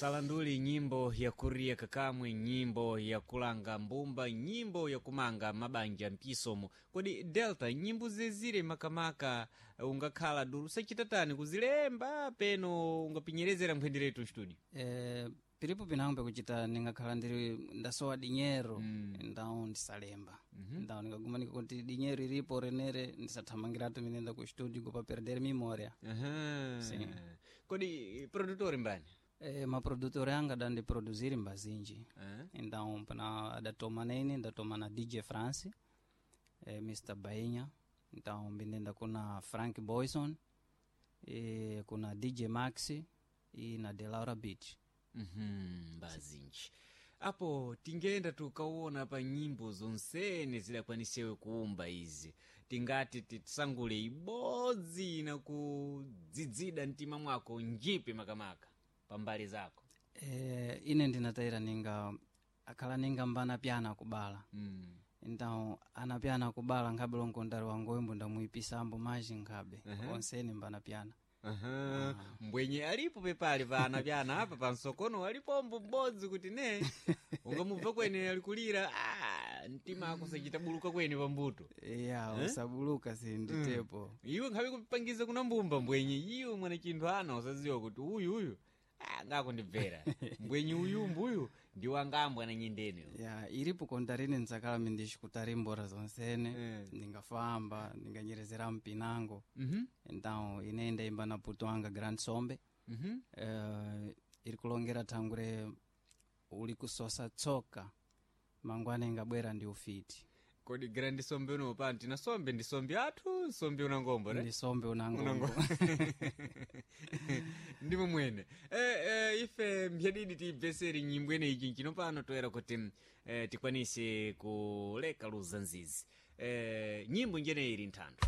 Salanduli, nyimbo ya kuria kakamwe, nyimbo ya kulanga mbumba, nyimbo ya kumanga mabanja mpisomo. Kodi Delta, nyimbo zezire makamaka ungakhala dulu sachitatani kuzilemba peno ungapinyerezera nkhwenderetu studio? Pilipo pinango pekuchita ningakhala ndiri ndasowa dinyero, ndawo ndisalemba. Ndawo ndikagumanika kuti dinyero ilipo renere, ndisathamangiratu minenda ku studio kupa perder memória. Aha. Sim. Kodi produtor mbani? Maprodutor anga adandiproduziri mbazinji. Eh? Então pana adatoma nene, ndatoma na DJ France, Mr Bainha. Então mbinenda kuna Frank Boyson, kuna DJ Maxi e na Delaura Beach. Mbazinji apo tingenda tukawona pa nyimbo zonsene zidakwanisewe kuumba izi, tingati tisangule ibodzi na kudzidzida mtima mwako njipi makamaka pambali zako? Ine ndinatayira ninga akhala ninga mbana pyana kubala. Então ana pyana kubala nkhabe lonkondari wangoyimbo ndamuipisambo maji nkhabe onsene mbana pyana. Aha. Mbwenye alipo pepali pana pyana apa pansokono alipombo m'bodzi kuti ne ungamubva kwene alikulira, mtima ako sachitabuluka kwene pambuto. Ya, usabuluka sinditepo. Iwe nkhabe kupangiza kuna mbumba mbwenye iwe mwana chinthu ana usaziwa kuti uyu uyu ngakundibvera mbwenye uyu mbuyu ndiwo angambwa na nyindene. Ya, ilipo kontarine ntsakala mindixikutari mbora zonsene. Ndingafamba ndinganyerezera mpinango. Então ine ndayimba na puto anga Grand Sombe. Iri kulongera thangure uli kusosa tsoka mangwana ingabwera ndi ufiti. Kodi Grand Sombe uno pa tina sombe ndi sombe athu sombe unangombo ne? Ndi sombe unangombo. Ndimo mwene ife mbyadidi tibveseri nyimbo ene ichi nchino pano toera kuti tikwanise kuleka luza nzizi, nyimbo njene ili nthanthu.